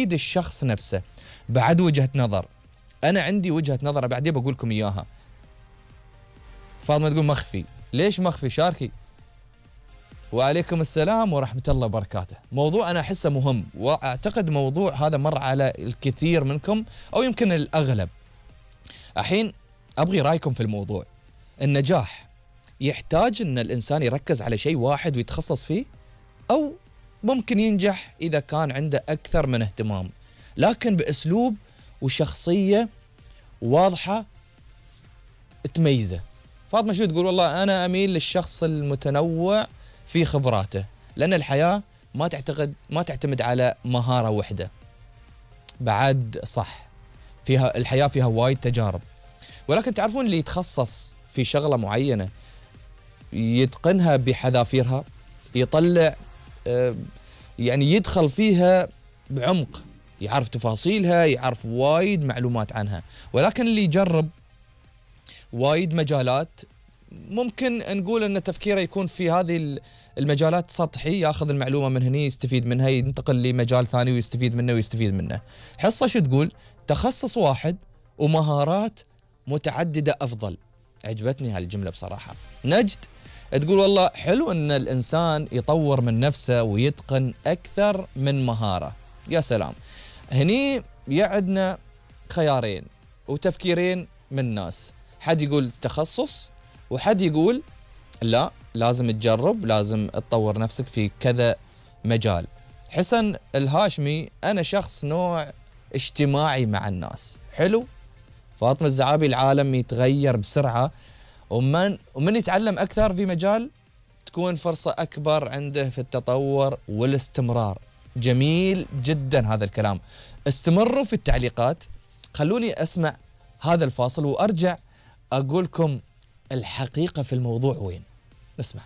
الشخص نفسه بعد وجهة نظر. أنا عندي وجهة نظر بعدين بقول لكم إياها. فاطمة تقول مخفي. ليش مخفي؟ شاركي. وعليكم السلام ورحمة الله وبركاته. موضوع أنا أحسه مهم، وأعتقد موضوع هذا مر على الكثير منكم أو يمكن الأغلب. الحين أبغي رأيكم في الموضوع. النجاح يحتاج أن الإنسان يركز على شيء واحد ويتخصص فيه، أو ممكن ينجح إذا كان عنده أكثر من اهتمام لكن بأسلوب وشخصية واضحة تميزه. فاطمة شو تقول؟ والله أنا أميل للشخص المتنوع في خبراته، لأن الحياة ما تعتمد على مهارة واحدة. بعد صح، فيها الحياة فيها وايد تجارب، ولكن تعرفون اللي يتخصص في شغلة معينة يتقنها بحذافيرها، يطلع يعني يدخل فيها بعمق، يعرف تفاصيلها، يعرف وايد معلومات عنها. ولكن اللي يجرب وايد مجالات ممكن نقول أن تفكيره يكون في هذه المجالات سطحي، ياخذ المعلومة من هني يستفيد منها، ينتقل لمجال ثاني ويستفيد منه ويستفيد منه. حصة شو تقول؟ تخصص واحد ومهارات متعددة أفضل. عجبتني هالجملة بصراحة. نجد تقول والله حلو أن الإنسان يطور من نفسه ويتقن أكثر من مهارة. يا سلام. هني يعدنا خيارين وتفكيرين من الناس، حد يقول تخصص وحد يقول لا، لازم تجرب، لازم تطور نفسك في كذا مجال. حسن الهاشمي: أنا شخص نوع اجتماعي مع الناس. حلو. فاطمة الزعابي: العالم يتغير بسرعة، ومن يتعلم أكثر في مجال تكون فرصة أكبر عنده في التطور والاستمرار. جميل جدا هذا الكلام. استمروا في التعليقات. خلوني أسمع هذا الفاصل وأرجع أقولكم الحقيقة في الموضوع وين. نسمع.